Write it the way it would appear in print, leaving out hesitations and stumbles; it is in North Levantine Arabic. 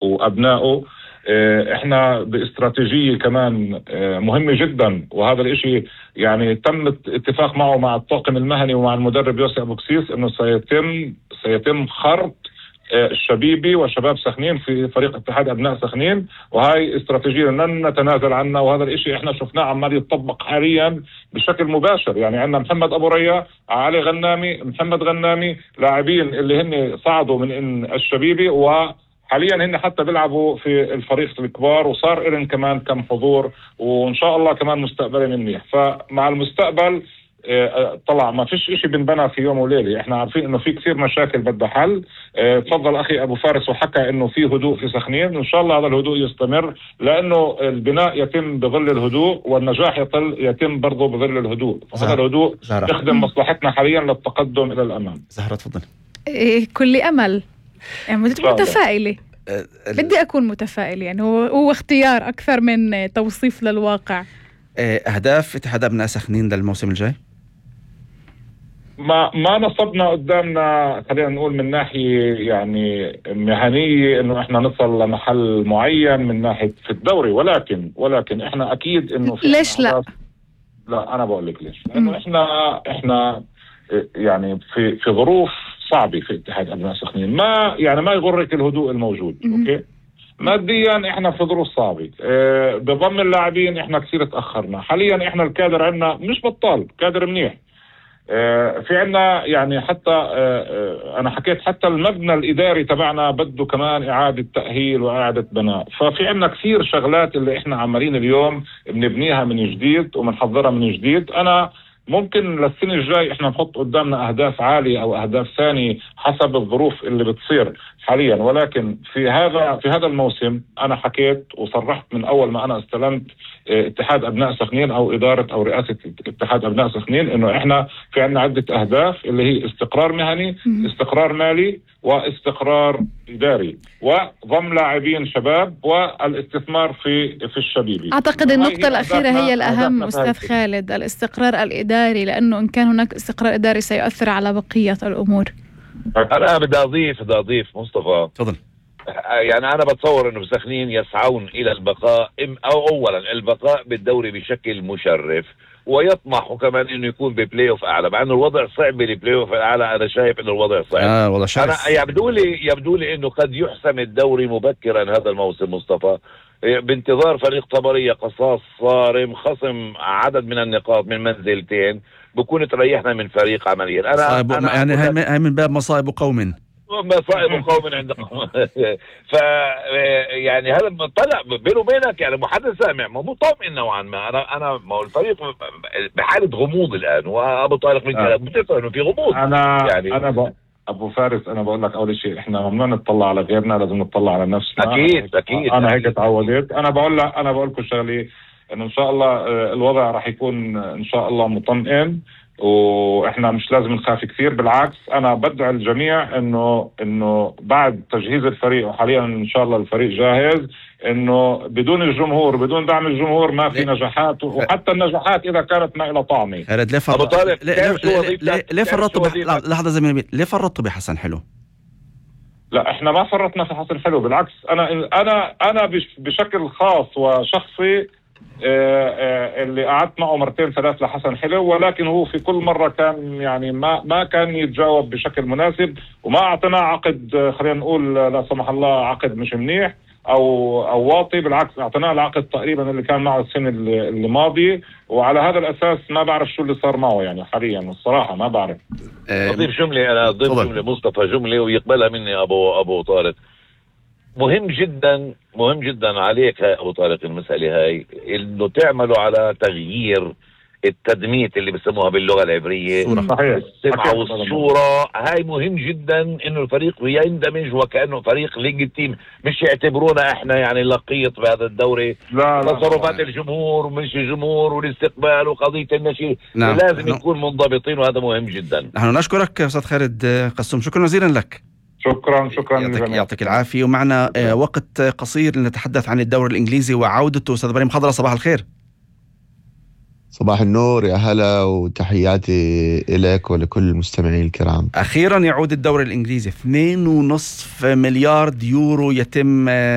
وأبنائه. احنا باستراتيجية كمان مهمة جدا، وهذا الاشي يعني تم اتفاق معه مع الطاقم المهني ومع المدرب يوسف أبو كسيس انه سيتم خرط الشبيبي وشباب سخنين في فريق اتحاد أبناء سخنين، وهي استراتيجية لن نتنازل عنها. وهذا الاشي احنا شفناه عمال يتطبق حاليا بشكل مباشر. يعني عندنا محمد أبو ريا، علي غنامي، محمد غنامي، لاعبين اللي هن صعدوا من الشبيبي وحاليا هن حتى بيلعبوا في الفريق الكبار، وصار إلن كمان كم حضور، وإن شاء الله كمان مستقبل منيح. فمع المستقبل طلع ما فيش اشي بنبنى في يوم وليلة. احنا عارفين انه في كثير مشاكل بدها حل. تفضل اخي ابو فارس وحكى انه في هدوء في سخنين، وان شاء الله هذا الهدوء يستمر، لانه البناء يتم بظل الهدوء والنجاح يتم برضه بظل الهدوء. هذا الهدوء يخدم مصلحتنا حاليا للتقدم الى الامام. زهرة تفضل. كل امل، يعني متفائلة. بدي اكون متفائل، يعني هو اختيار اكثر من توصيف للواقع. اهداف اتحاد ابناء سخنين للموسم الجاي؟ ما نصبنا قدامنا، خلينا نقول من ناحية يعني مهنية انه احنا نصل لمحل معين من ناحية في الدوري، ولكن احنا اكيد انه في ليش لا انا بقول لك ليش. لانه احنا يعني في ظروف صعبة في اتحاد ابناء سخنين. ما يغرك الهدوء الموجود. اوكي، ماديا احنا في ظروف صعبة. بضم اللاعبين احنا كثير تأخرنا. حاليا احنا الكادر عندنا مش بطال، كادر منيح. في عنا يعني حتى انا حكيت حتى المبنى الاداري تبعنا بده كمان اعادة تأهيل واعادة بناء. ففي عنا كثير شغلات اللي احنا عمالين اليوم بنبنيها من جديد وبنحضرها من جديد. انا ممكن للسنة الجاي احنا نحط قدامنا اهداف عالية او اهداف ثانية حسب الظروف اللي بتصير حاليا، ولكن في هذا الموسم انا حكيت وصرحت من اول ما انا استلمت اتحاد ابناء سخنين او ادارة او رئاسة اتحاد ابناء سخنين انه احنا في عنا عدة اهداف اللي هي استقرار مهني، استقرار مالي، واستقرار اداري، وضم لاعبين شباب، والاستثمار في الشبيبي. اعتقد النقطة الاخيرة هي الاهم استاذ خالد، الاستقرار الاداري، لانه ان كان هناك استقرار اداري سيؤثر على بقية الامور. انا بدي اضيف مصطفى. تفضل. يعني انا بتصور انه بسخنين يسعون الى البقاء او اولا البقاء بالدوري بشكل مشرف، ويطمحوا كمان انه يكون ببلاي اوف اعلى، مع انه الوضع صعب بالبلاي اوف الاعلى. انا شايف انه الوضع صعب. والله شايف. انا يبدو لي انه قد يحسم الدوري مبكرا هذا الموسم مصطفى، بانتظار فريق طبرية قصاص صارم خصم عدد من النقاط من منزلتين، بكون تريحنا من فريق عمليا. أنا يعني هاي من باب مصائب قوم عندهم. يعني هذا طلع بينه وبينك يعني محدث سامع مو مطمئن نوعا ما. انا ما هو الفريق بحالة غموض الان، وابو طارق من كلام بتعرف انه في غموض. انا ابو فارس انا بقول لك اول شيء احنا ممنوع نطلع على غيرنا، لازم نطلع على نفسنا. اكيد انا هيك تعودت. انا بقول لكم شغله انه ان شاء الله الوضع راح يكون ان شاء الله مطمئن، واحنا مش لازم نخاف كثير. بالعكس انا بدعي الجميع انه بعد تجهيز الفريق، وحاليا ان شاء الله الفريق جاهز، انه بدون الجمهور بدون دعم الجمهور ما في نجاحات، وحتى النجاحات اذا كانت ما لها طعمه. ليه فرطوا لحظه زميلي، ليه فرطوا بحسن حلو؟ لا احنا ما فرطنا في حسن حلو، بالعكس انا بشكل خاص وشخصي اللي قعدت معه مرتين ثلاث لحسن حلو، ولكن هو في كل مرة كان يعني ما كان يتجاوب بشكل مناسب، وما اعطينا عقد خلينا نقول لا سمح الله عقد مش منيح او واطي. بالعكس اعطيناه العقد تقريبا اللي كان معه السنة اللي ماضية، وعلى هذا الاساس ما بعرف شو اللي صار معه يعني حاليا الصراحة ما بعرف. اضيف جملة مصطفى جملة ويقبلها مني ابو طارق. مهم جدا عليك يا ابو طارق المسألة هاي، انه تعملوا على تغيير التدميت اللي بيسموها باللغة العبرية، السمعة والصورة. هاي مهم جدا انه الفريق يندمج وكأنه فريق ليج تيم، مش يعتبرونا احنا يعني لقيط بهذا الدوري. تصرفات الجمهور ومش الجمهور والاستقبال وقضية النشيد لازم نكون منضبطين، وهذا مهم جدا. نحن نشكرك استاذ خالد قسوم، شكرا جزيلا لك. شكرا يعطيك العافية. ومعنا وقت قصير لنتحدث عن الدوري الإنجليزي وعودته. أستاذ إبراهيم حضرة، صباح الخير. صباح النور، يا هلا، وتحياتي إليك ولكل المستمعين الكرام. أخيرا يعود الدوري الإنجليزي. 2.5 مليار يورو يتم